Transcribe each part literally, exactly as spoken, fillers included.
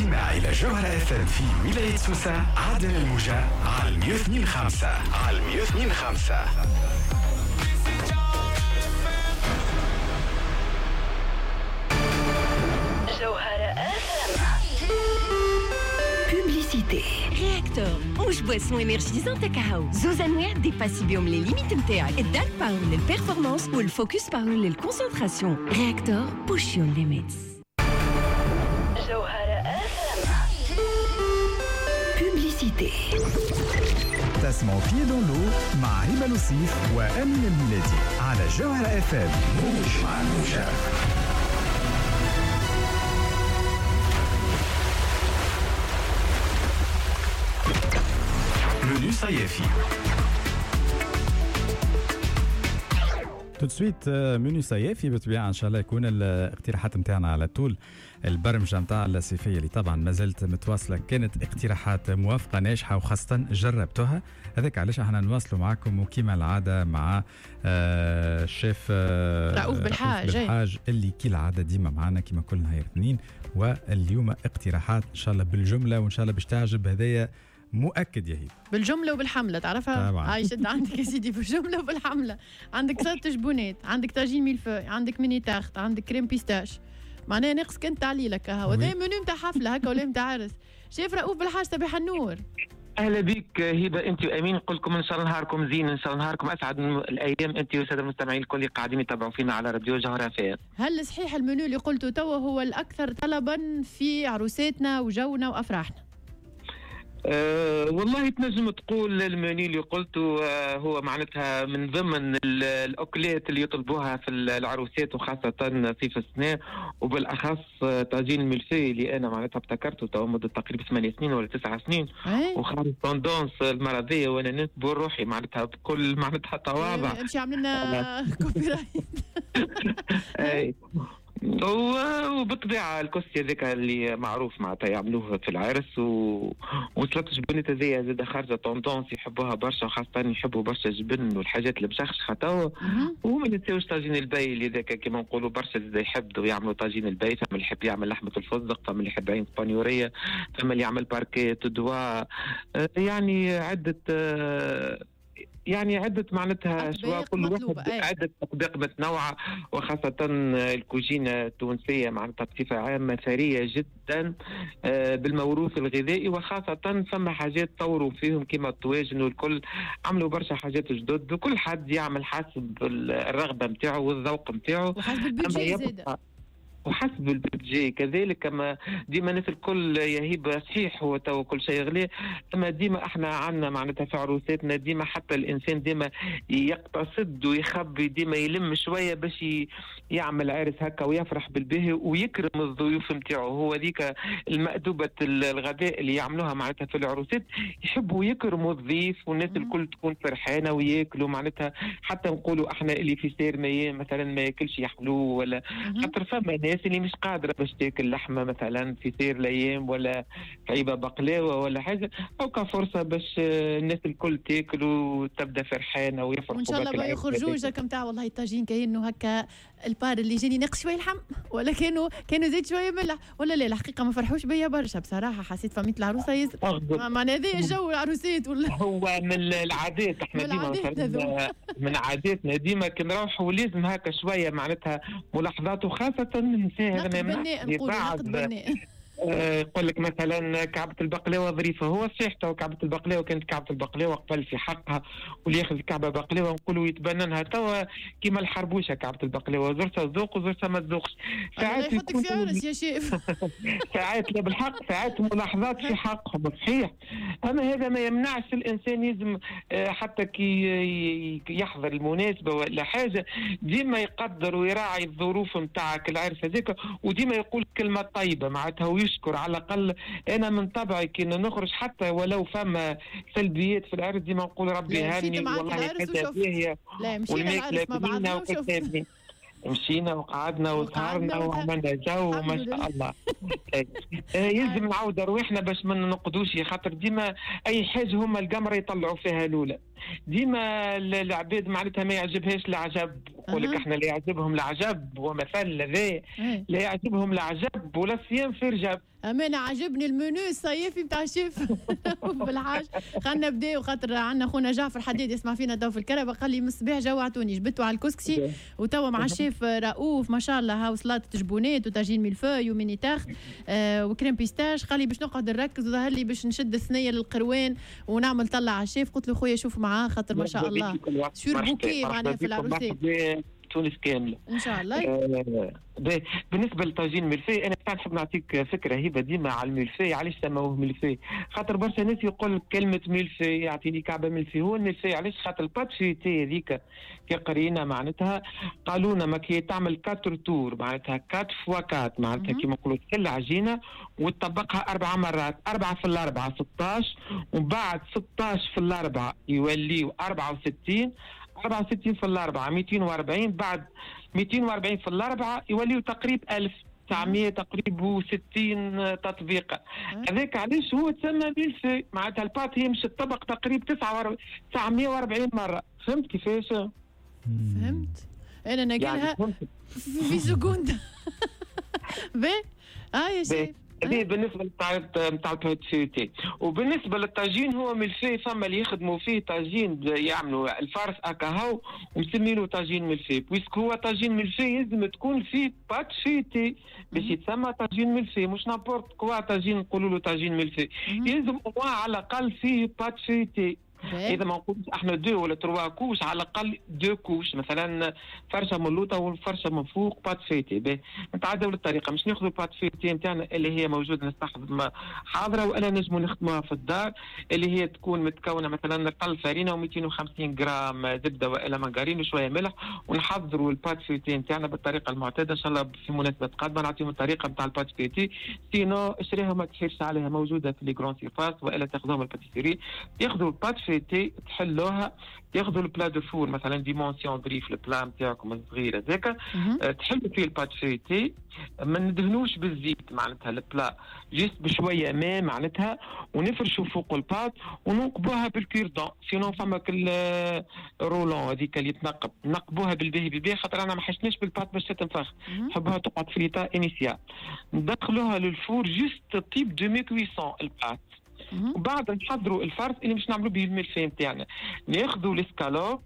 للاستماع إلى جوهرة اف ام في ولاية سوسة عدل الموجة على مية واثنين خمسة، على مية واثنين خمسة. جوهرة اف ام. Publicité. Réacteur مش boisson énergisante كهو، زوز انواع dépassي بيهم les limites نتاعك، ال Dark Power لل performance وال Focus Power لل concentration. Réacteur push your limits. جوهرة اف ام. Publicité. تسمعوا Pieds dans l'eau مع هبة لوصيف وأمين الميلادي على جوهرة اف ام. موج مع موجة. منيو صيافي. tout de suite menu صيافي بالطبيعة ان شاء الله يكون الاقتراحات نتاعنا على طول. البرمجة نتاع الصيفية اللي طبعا ما زالت متواصلة كانت اقتراحات موافقة ناجحة وخاصة جربتوها، هذاك علاش احنا نواصلوا معكم وكما العادة مع الشيف رؤوف بالحاج بالحاج اللي كالعادة ديما معنا كما كل نهار اثنين. واليوم اقتراحات ان شاء الله بالجملة وان شاء الله باش تعجب، هذايا مؤكد يا هيب بالجملة وبالحمله تعرفها. هاي شد عندك يا سيدي بالجملة وبالحمله. عندك سلطة جبونات، عندك طاجين ميلفوي، عندك mini tarte، عندك crème pistache، معناها ناقص كان تعليلك هو هذا منو نتاع حفلة هكا ولا نتاع عرس. شيف رؤوف بالحاج صباح النور. اهلا بك هبه انت وامين، نقول لكم ان شاء الله نهاركم زين، ان شاء الله نهاركم اسعد الايام انت والسادة المستمعين الكل اللي قاعدين يتابعوا فينا على راديو جوهرة اف. هل صحيح المنيو اللي قلته توا هو الاكثر طلبا في عروساتنا وجونا وافراحنا؟ أه والله تنجم تقول المنيو اللي قلته أه هو معناتها من ضمن الأكلات اللي يطلبوها في العروسات وخاصة صيف السنة، وبالأخص طاجين الملفي اللي أنا معناتها ابتكرته تو مدة تقريبا ثمانية سنين ولا تسعة سنين وخارج tendance المرضية، وأنا نتبور روحي معناتها بكل معناتها تواضع. امشي عمل لنا copyright. أي وبالطبيعة الكسكسي هذاك اللي معروف معناتها يعملوه في العرس، و... وسلطة جبنة هذيا زاد خارجة tendance يحبوها برشا، وخاصة يحبوا برشا الجبن والحاجات المشخشخة توا. وما ننساوش طاجين الباي اللي ذاك كيما نقولوا برشا زاد يحبوا يعملوا طاجين الباي، فما اللي يحب يعمل لحمة الفستق، فما اللي يحب عين اسبانيورية، فما اللي يعمل barquettes d'oie، يعني عدة يعني عدة معناتها شوا كل واحد عدة أطباق متنوعة، وخاصة الكوجينة التونسية معناتها بصفة عامة ثرية جدا بالموروث الغذائي، وخاصة فما حاجات طوروا فيهم كما الطواجن والكل، عملوا برشا حاجات جدد، وكل حد يعمل حسب الرغبة نتاعو والذوق نتاعو وحسب ال budget زاد وحسب ال budget كذلك. كما ديما الناس الكل يا هبه صحيح هو تو كل شيء غلي، اما ديما احنا عندنا معناتها في عروساتنا ديما حتى الانسان ديما يقتصد ويخبي، ديما يلم شوية باش يعمل عرس هكا ويفرح بالباهي ويكرم الضيوف نتاعو. هو ذيك المأدوبة الغداء اللي يعملوها معناتها في العروسات، يحبوا يكرموا الضيف والناس الكل تكون فرحانة وياكلوا معناتها. حتى نقولوا احنا اللي في سير ما مثلا ما ياكلش يحلو ولا خاطر فما ناس اللي مش قادرة باش تاكل لحمه مثلا في سير الايام ولا كعيبه بقلاوه ولا حاجة، او كفرصه باش الناس الكل تاكل وتبدا فرحانة ويفرحوا. وان شاء الله ما يخرجوش هكا نتاع والله الطاجين كاينه هكا البار اللي جاني ناقص شوية لحم ولا كانوا كانوا زيد شوية ملح ولا لا. الحقيقة ما فرحوش بيا برشا بصراحة، حسيت فميت العروسة ياسر معناها هذا الجو العروسات ولا هو من العادات احنا ديما من عاداتنا ديما كي نروحوا لازم هكا شوية معناتها ملاحظات، وخاصة هذا ما يمنعش يقول لك مثلا كعبة البقلاوة ظريفة. هو صحيح تو كعبة البقلاوة كانت كعبة البقلاوة قبل في حقها، واللي ياخذ كعبة بقلاوة نقولوا يتبننها. توا كيما الحربوشة كعبة البقلاوة زرتها تذوق وزرتها ما تذوقش. ساعات يحطك في عرس يا شيف. ساعات لا بالحق، ساعات ملاحظات في حقهم صحيح، اما هذا ما يمنعش الانسان لازم حتى كي يحضر المناسبة ولا حاجة ديما يقدر ويراعي الظروف نتاعك العرس هذاك، وديما يقول كلمة طيبة معناتها ويشكر على الأقل. أنا من طبعي كي نخرج حتى ولو فما سلبيات في العرس ديما نقول ربي هاني والله كذا باهية والماكلة بنينة وكتابني. مشينا وقعدنا وسهرنا وعملنا جو وما شاء الله. يلزم نعاود رواحنا باش ما ننقدوش، خاطر ديما اي حاجة هما القمره يطلعوا فيها الاولى. ديما العباد معناتها ما يعجبهاش العجب، يقول لك احنا لا يعجبهم العجب، ومثل هذا لا يعجبهم العجب ولا الصيام في رجب. أمانة عجبني المنيو الصيفي نتاع الشيف بالحاج. خلينا نبداو خاطر عندنا خونا جعفر حديد يسمع فينا تو في الكهرباء، قال لي من الصباح جوعتوني، جبتوا على الكسكسي وتوا مع الشيف رؤوف ما شاء الله، هاو سلطة جبونات وطاجين mille-feuille و mini tarte آه و crème pistache. قال لي باش نقعد نركز وظهر لي باش نشد الثنية للقروان ونعمل طلع على الشيف. قلت له خويا شوف معاه خاطر ما شاء الله surbooké معناها في العروسات تونس كاملة ان شاء الله. آه بالنسبة للطاجين ملفي، انا نحب نعطيك فكرة هبه ديما على الملفي. علاش سموه ملفي؟ خاطر برشا ناس يقول كلمة ملفي يعطيني كعبه ملفي. هو الملفي علاش؟ خاطر ال pâte feuilletée هذيك كي قرينا معناتها قالوا لنا ما كي تعمل quatre tours معناتها quatre fois quatre معناتها كيما نقولوا تحل عجينه وتطبقها اربع مرات، اربعة في الاربعة ستاش، ومن بعد ستاش في الاربعة يوليو أربعة وستين، أربعة وستين في الأربعة مئتين وأربعين، بعد مئتين وأربعين في الأربعة يوليو تقريب ألف وتسعمية تقريبا وستين تطبيقة. هذاك علاش هو تسمى ميلفي، معناتها ال pâte هي مش تطبق تقريبا تسعمية وأربعين مرة. فهمت كيفاش؟ فهمت. أنا ناكلها يعني في seconde. باهي اه يا شيف. هذه بالنسبة للتاع نتاع ال pâte feuilletée. وبالنسبة للطاجين هو ملفي، فما اللي يخدموا فيه طاجين يعملوا ال farce اكاهو ومسمينه طاجين mille-feuille، puisque هو طاجين ملفي لازم تكون فيه pâte feuilletée باش يتسمى طاجين ملفي، مش n'importe quoi طاجين نقولوا له طاجين ملفي، لازم على الاقل فيه pâte feuilletée. اذا ما نقولش احنا deux ولا trois couches، على الاقل deux couches، مثلا فرشه من اللوطه وفرشه من فوق pâte feuilletée. نتعداو للطريقة، مش ناخذوا pâte feuilletée نتاعنا اللي هي موجودة نستحضر حاضره، والا نجموا نخدموها في الدار اللي هي تكون متكونه مثلا رطل فرينه ومئتين وخمسين غرام زبدة والا مارغرين وشوية ملح، ونحضروا ال pâte feuilletée نتاعنا بالطريقة المعتادة. ان شاء الله في مناسبة قادمة نعطيهم الطريقة نتاع ال pâte feuilletée، sinon اشريها ما تحيرش عليها، موجودة في les grandes surfaces والا تاخذوها من ال pâtisserie. تاخذوا ال pâte feuilletée تحلوها، تاخذوا ال plat de four مثلا dimension ظريف ال plat نتاعكم الصغير هذاك، تحلوا فيه ال pâte feuilletée، ما ندهنوش بالزيت معناتها ال plat، juste بشوية ماء معناتها، ونفرشوا فوق ال pâte وننقبوها بال cure-dent، sinon فما كل rouleau هذيك اللي تنقب، نقبوها بالباهي بالباهي خاطر انا ما حشناش بال pâte باش تتنفخ، نحبوها تقعد في l'état initial. ندخلوها لل four juste تطيب demi-cuisson ال pâte، وبعد نحضروا ال farce اللي مش نعملوا به الملفي نتاعنا. ناخذوا الاسكالوب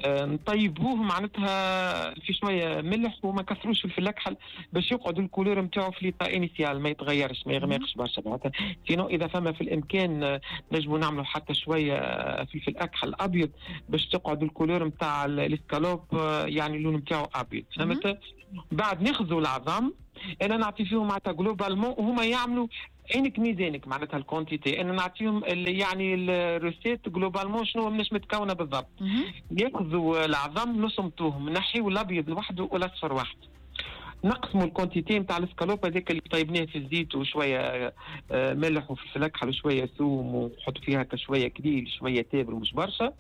آه، نطيبوه معناتها في شوية ملح وما كثروش فلفل الاكحل باش يقعد ال couleur نتاعو في l'état initial ما يتغيرش ما يغمقش برشا معناتها. sinon اذا فما في الامكان نجموا نعملوا حتى شوية فلفل اكحل ابيض باش تقعد ال couleur نتاع الاسكالوب يعني اللون نتاعو ابيض، فهمت؟ بعد ناخذوا العظم، انا نعطي فيهم معناتها globalement وهما يعملوا عينك ميزانك معناتها ال quantité، انا نعطيهم يعني ال recette globalement شنو مش متكونه بالضبط. ياخذوا العظم نصمتوهم، نحيوا الابيض لوحده والاصفر وحده، نقسموا ال quantité نتاع الاسكالوب هذاك اللي طيبناه في الزيت وشوية ملح وفلفل اكحل وشوية ثوم ونحط فيها شوية كليل شوية تابل مش برشا،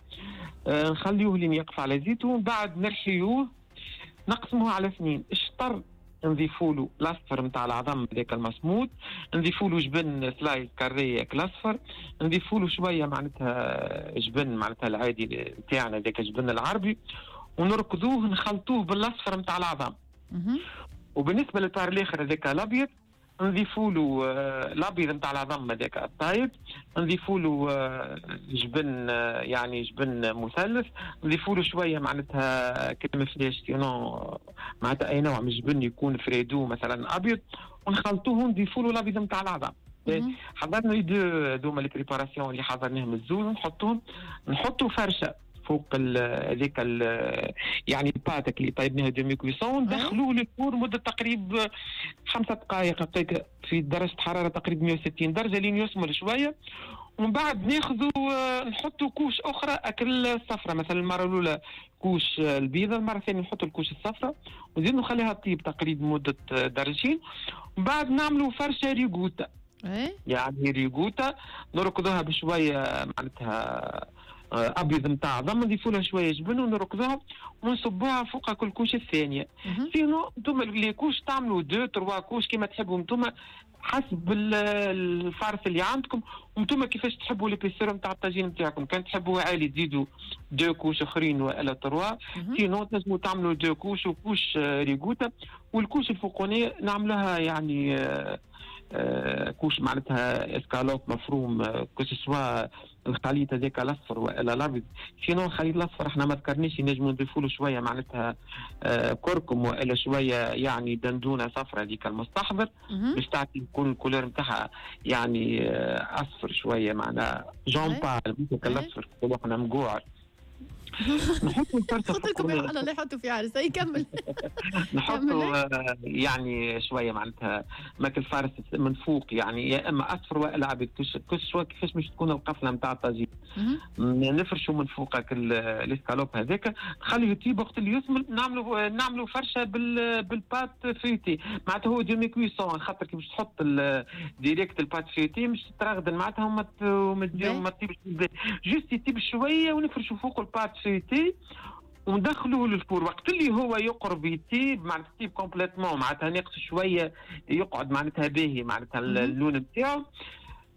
نخليوه لين يقف على زيته، ومن بعد نرحيوه نقسموه على اثنين، الشطر نضيفوا له الاصفر نتاع العظم هذاك المصموط، نضيفوا له جبن slice carré الاصفر، نضيفوا له شوية معناتها جبن معناتها العادي نتاعنا هذاك الجبن العربي، ونركضوه نخلطوه بالاصفر نتاع العظم. وبالنسبة لل part الاخر هذاك الابيض نضيفوا له الابيض نتاع العظم هذاك الطايب، نضيفوا له جبن يعني جبن مثلث، نضيفوا له شوية معناتها crème fraîche sinon معناتها اي نوع من الجبن يكون فريدو مثلا ابيض، ونخلطوه ونضيفوا له الابيض نتاع العظم. حضرنا les deux هذوما les préparations اللي حضرناهم الزوز، نحطوهم نحطوا فرشه فوق هذيك يعني ال pâte اللي طيبناها demi-cuisson، ندخلوه لل four مده تقريب خمسة دقائق في درجه حرارة تقريبا مية وستين درجه لين يسمر شوية. ومن بعد ناخذوا نحطوا couche اخرى اكل الصفراء، مثلا المرة الاولى couche البيضاء، المرة الثانية نحطوا ال couche الصفراء ونزيد نخليها تطيب تقريبا مده درجين. ومن بعد نعملوا فرشه ريغوتا، يعني ريغوتا نركضوها بشوية معناتها ابيض نتاع عظم، نضيفوا لها شوية جبن ونركضوها ونصبوها فوق كل couche الثانية. sinon انتم les couches تعملوا deux trois couches كيما تحبوا انتم حسب ال farce اللي عندكم، وانتم كيفاش تحبوا l'épaisseur نتاع الطاجين نتاعكم. كان تحبوه عالي تزيدوا deux couches اخرين والا trois، sinon تنجموا تعملوا deux couches و couche ricotta، وال couche الفوقانيه نعملوها يعني آه couche معناتها اسكالوب مفروم، que ce soit الخليط هذاك الاصفر والا الابيض. sinon الخليط الاصفر احنا ما ذكرناش، نجموا نضيفوا له شوية معناتها آه كركم والا شوية يعني دندونه صفراء هذيك المستحضر باش تعطي يكون ال couleur نتاعها يعني آه اصفر شوية، معناها jaune pâle مش الاصفر احنا مقوعر. نحطوا الفرصة قلت لكم الله لا يحطوا في عرس يكمل. نحطوا يعني شوية معناتها ماك ال farce من فوق، يعني يا اما اصفر والا ابيض، كل كيفاش باش تكون القفله نتاع الطاجين. نفرشوا من فوقك الاسكالوب هذاك، نخليه يطيب. وقت اللي يثمل نعملوا نعملوا فرشه بال pâte feuilletée، معناتها هو demi-cuisson، خاطر كي باش تحط direct ال pâte feuilletée مش ترغدن معناتها وما تطيبش، juste يطيب شوية ونفرشوا فوق ال pâte feuilletée وندخلوه لل four. وقت اللي هو يقرب يطيب معناتها يطيب complètement، معناتها ناقص شوية يقعد معناتها باهي معناتها اللون نتاعو،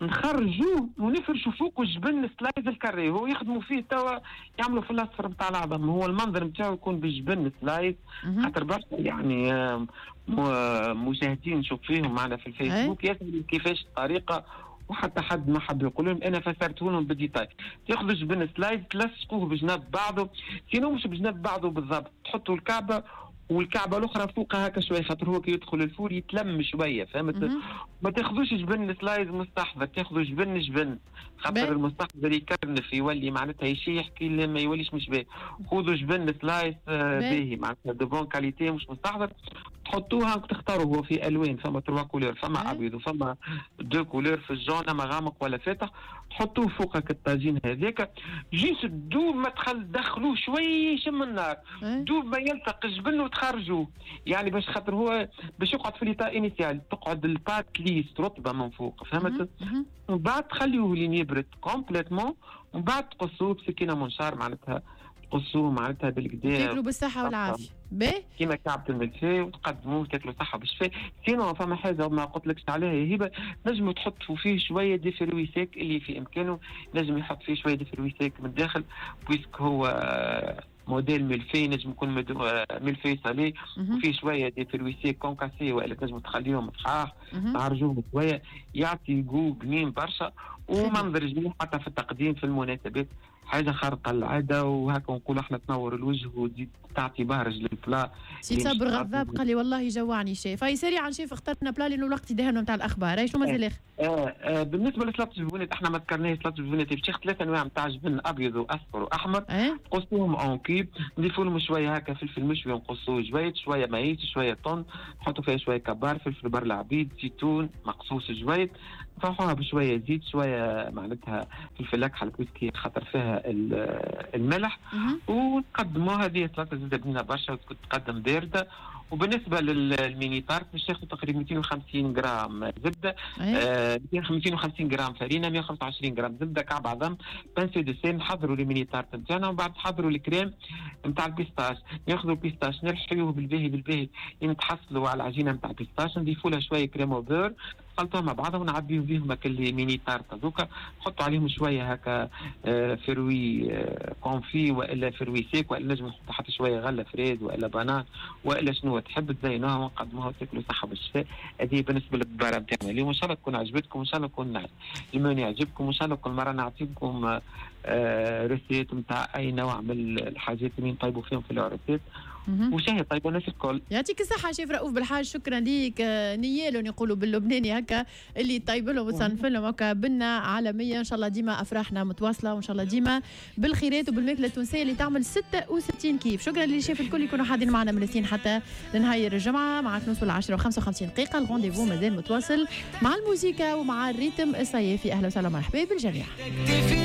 نخرجوه ونفرشوا فوقه جبن slice ال carré. هو يخدموا فيه توا يعملوا في الاصفر نتاع العظم، هو المنظر نتاعو يكون بالجبن slice، خاطر برشا يعني مشاهدين نشوف فيهم معنا في الفيسبوك يسالوا كيفاش الطريقة، وحتى حد ما حب يقول لهم، انا فسرته لهم بال détail. تاخذوا جبن slice تلصقوه بجنب بعضه، sinon مش بجنب بعضه بالضبط، تحطوا الكعبة والكعبة الاخرى فوقها هكا شوية، خاطر هو كي يدخل ال four يتلم شوية، فهمت؟ ما تاخذوش جبن slice مستحضر، تاخذوا جبن جبن، خاطر المستحضر يكرنف يولي معناتها يشيح كي ما يوليش مش باهي. خذوا جبن slice باهي معناتها de bonne qualité مش مستحضر، تحطوها وتختاروا. هو في الوان، فما trois couleurs، فما ابيض وفما deux couleurs في ال jaune، ما غامق ولا فاتح. تحطوه فوقك الطاجين هذاك، juste دوب ما تخل دخلوه شوية يشم النار، دوب ما يلتق الجبن وتخرجوه، يعني باش خاطر هو باش يقعد في l'état initial، تقعد ال pâte lisse رطبه من فوق، فهمت؟ ومن بعد تخليوه لين يبرد complètement، ومن بعد تقصوه بسكينة منشار معناتها، تقصوه معناتها بالكدا، تاكلوا بالصحة والعافية. باهي كيما كعبة الملفي وتقدموه تاكلوا صحة بالشفاء. sinon فما حاجة ما قلتلكش عليها يا هبه، نجموا تحطوا فيه شوية des fruits secs اللي في امكانه، نجم يحط فيه شوية des fruits secs من الداخل، puisque هو modèle mille-feuille، نجم يكون mille-feuille salé وفيه شوية des fruits secs concassés، والا تنجم تخليهم صحاح تعرجوهم شوية، يعطي goût بنين برشا ومنظر جميل حتى في التقديم في المناسبات، حاجة خارقة للعادة. وهكا نقول احنا تنور الوجه وتزيد تعطي بهرج لل plat. سي صابر غضاب قال لي والله جوعني شيف. هاي سريعا شيف اخترنا plat لانه الوقت يدهن نتاع الاخبار. هاي شنو مازال اخر؟ آه آه بالنسبة لسلطه الجبنات احنا ما ذكرناش سلطة الجبنات، باش تاخذ ثلاث انواع نتاع جبن ابيض واصفر واحمر، أه؟ تقصوهم en cubes، نضيفوا لهم شوية هكا فلفل مشوي نقصوه شوية، شوية maïs، شوية thon، نحطوا فيها شوية كبار، فلفل بر العبيد، زيتون مقصوص شوية، نفوحوها بشوية زيت، شوية معناتها فلفل اكحل puisque خاطر فيها الملح، ونقدموها. هذه سلطة زاده بنينه برشا وتقدم باردة. وبالنسبة لل mini tarte باش تاخذ تقريبا مئتين وخمسين غرام زبدة، آه مئتين وخمسين غرام فرينه، مئة وخمسة وعشرين غرام زبدة، كعب عظم، pincée de sel. نحضروا les mini tartes نتاعنا ومن بعد نحضروا الكريم نتاع ال pistache. ناخذوا ال pistache نرحيوه بالباهي بالباهي نتحصلوا على العجينة نتاع ال pistache، نضيفوا لها شوية crème au beurre، نخلطوها مع بعضها ونعبيو بيهم هكا les mini tartes هذوكا، نحطوا عليهم شوية هكا fruits confits والا fruits secs، والا نجم نحطوا حتى شوية غله fraise والا banane والا شنو تحب، تزينوها ونقدموها وتاكلوا صحة بالشفاء. هذه بالنسبة للدباره نتاعنا اليوم، ان شاء الله تكون عجبتكم، وان شاء الله يكون الموني يعجبكم، وان شاء الله كل مرة نعطيكم recette نتاع اي نوع من الحاجات اللي نطيبوا فيهم في العرسات. وشهي طيبة الناس الكل. يعطيك الصحة شيف رؤوف بالحاج، شكرا ليك. نيالهم يقولوا باللبناني هكا اللي طيب لهم وتصنف لهم هكا بنا عالمية. ان شاء الله ديما افراحنا متواصلة، وان شاء الله ديما بالخيرات وبالماكله التونسية اللي تعمل ستة وستين كيف. شكرا للشيف الكل يكونوا حاضرين معنا من الاثنين حتى لنهاية الجمعة مع نوصل عشرة وخمسة وخمسين دقيقة. ال rendez-vous مازال متواصل مع الموسيقى ومع ال rythme الصيفي. اهلا وسهلا ومرحبا بالجميع.